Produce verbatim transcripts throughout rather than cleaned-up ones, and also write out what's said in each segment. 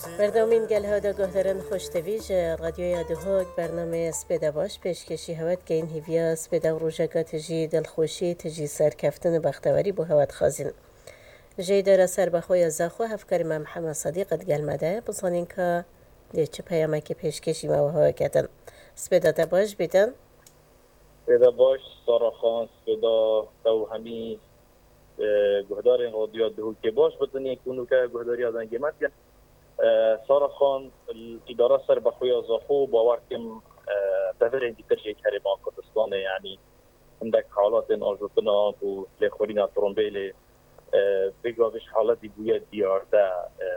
Berdewamîn gel hewda guhdarên xweştevî ji Radyoya Duhok bernameyê Spêda Baş pêşkêşî hewe dikeyin. Hêviya spêda û rojeka tijî dilxweşî, tijî serkeftin û bextewarî bo hewe dixwazîn. Ji Îdara Serbexwe ya Zaxo hevkarê me Mihemed Sedîq digel me de ye. Bizanîn ka dê çi peyamekê pêşkêşî me we hewe ketin. Spêda te baş bîtin. Spêda baş, Sara Xan, spêda te û hemî, e, guhdarên Radyoya Duhokê baş bitin, yên ku nûke guhdariya dengê me dikin. E, Sara Xan, îdara serbexwe ya Zaxo, bawer kim, e, deverên dîtir jê Herêma Kurdistanê, yanî hindek halatên ajotina ku lêxwirîna trombêlê, e, vê gavê ji haletî bûye diyar de, e,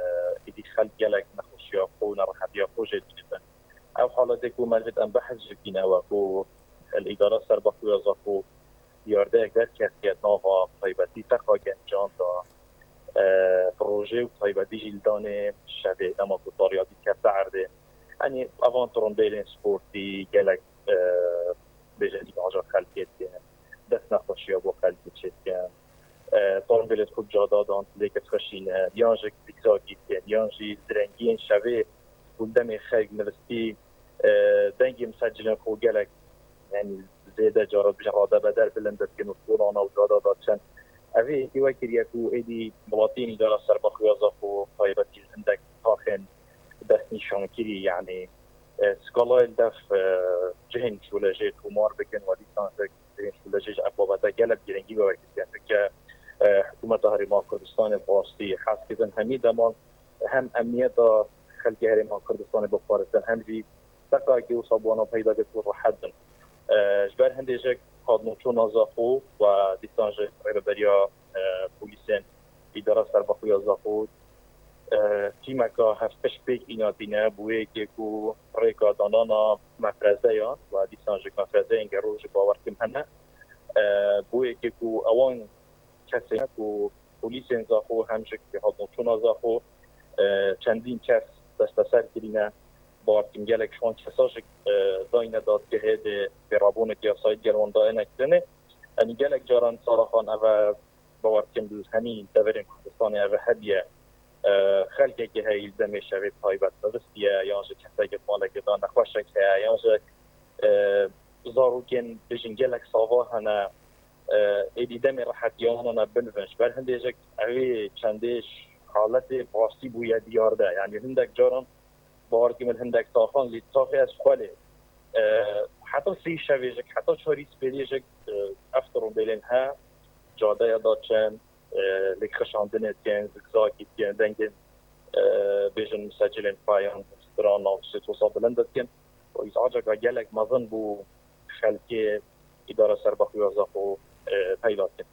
êdî xelk gelek nexweşiya xwe û nerehetiya xwe jê dibînin. Ew haletê ku me divêt em behs jê bîne we ku li îdara serbexwe ya Zaxo diyardeyek derketiye nava taybetî teqa gencan de, e, bi rojê û taybetî jî li danê şevê dema ku tariyatî kefte erdê. Yanî evan trombêlên sportî gelek, e, bêje îmaja xelkê dikin, dest nexweşiya bo xelkê çêdikin. E, trombêlê xwe bi cada dan lêkir dixweşîne, yan jî zîgzagî dikin, yan jî direngiyên şevê ku demê xelk nivistî, e, dengê misecilên xwe gelek, yanî zêde cara dibêjin radebeder bilind dikin û kolana û cada diçin. Evê êdî wekiriye ku êdî welatiyên îdara serbexwe ya Zaxo taybetî li hindek taxên destnîşankirî, yanî, e, skalayê li dev, e, cihên şûlejê tomar bikin, we dîsan jî cihên şûlejê ji ev babete gelek girîngî bi we kiriye. Çunke, e, hikûmeta Herêma Kurdistanê bi rastî hez dikin hemî deman hem emniyeta xelkê Herêma Kurdistanê biparêzin, hem jî teqakê wisa bi wana peyda bêt û rehet bin. E, ji ber hindê jî hatnûçûna Zaxo we dîsan ji rêveberiya, e, polîsên îdara serbexwe ya Zaxo, e, tîmeka hevpişt pêk îna tîne, bo yekê ku rêka danana mefrezeyan we dîsan jî mefrezeyên gero jî bawer kim hene. E, bo yekê ku ewan kesên ku polîsên Zaxo hem jî hatnûçûna Zaxo, e, çendîn kes desteser kirîne. Bawer kim gelek ji wan kesa jî, e, dayne dadgehê dê pêrabûnek yasayî digel wan dayne kirinê. Yanî gelek caran Sara Xan ev e, bawer kim li hemî deverên Kurdistanê ev e hebiye, e, xelkekê heye li demê şevê taybet nivistiye, yan jî kesekê malekê de nexweşek heye, yan jî, e, zarokên bêjin gelek sava hene, e, êdî demê rehetiya wan e binivin. Ji ber hindê jî evê çendê haletê bi rastî bûye diyar de. Yanî hindek caran bawer kim li hindek taxan lê taxê ez xwe lê, e, heta sê şevê jî, heta çarî spêdê jî, e, ev trombêlên he, cadeya da çend, e, lêk xişandinê dikin, zikzakî dikin, dengên, e, bêjin misecilên payan, strana û sêtosa bilind dikin. Û îz'aceka gelek mezin bû xelkê îdara serbexwe ya Zaxo, e, peyda dikin.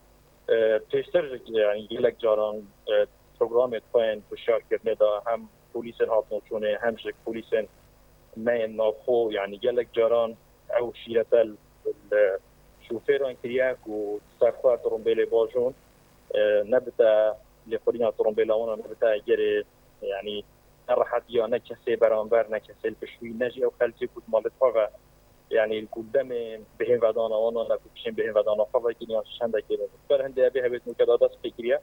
E, pêştir, yanî gelek caran, e, programê xwe yên hişyarkirinê de hem polîsên hatnûçûnê hem jî polîsên me yên navxwe, yanî gelek caran ew şîrete li şofêran kiriye ku ser xwe trombêlê bajûn, e, nebite lêxwirîna trombêla wan nebite egerê, yanî ne rehetiya ne kesê beramber ne kesê li pişt wî ne jî ew xelkê ku di malê xwe ve, yanî ku demê bihêvedana wan ne ku pişên bihêvedana xwe vekirî yan çendekê ne. Ber hindê evê hevêt nûke da dest pê kiriye.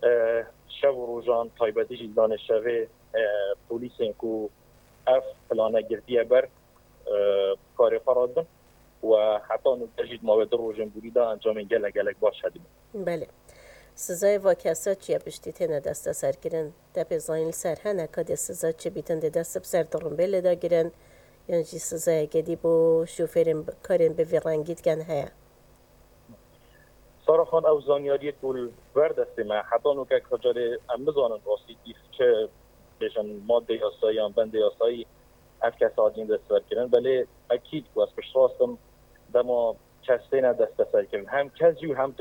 E, şev û rojan taybetî jî danê şevê, e, polîsên ku ev plane girtiye ber, e, karê xwe radin û heta nûke jî di mawê du rojên borî de encamên gelek gelek baş hedibin. Belê. Sizayê va kesa çi ye piştî têne desteserkirin? Te pê zanîn li ser hene ka dê siza çi bîtin dê dest bi ser tirimbêlê de girin? Yan jî sizayeke dî bo şofêrên bi-, karên bi vî rengî dikin heye? Sara Xan, ew zanyariyê ku li ber destê me, heta nûke ka carê em nizanin rastî dîf çi bêjin madde yasayî yan bendê yasayî ev kes hatiye desteserkirin. Belê ekîd ku ez piştrast im, dema kes têne desteserkirin, hem kes jî û hem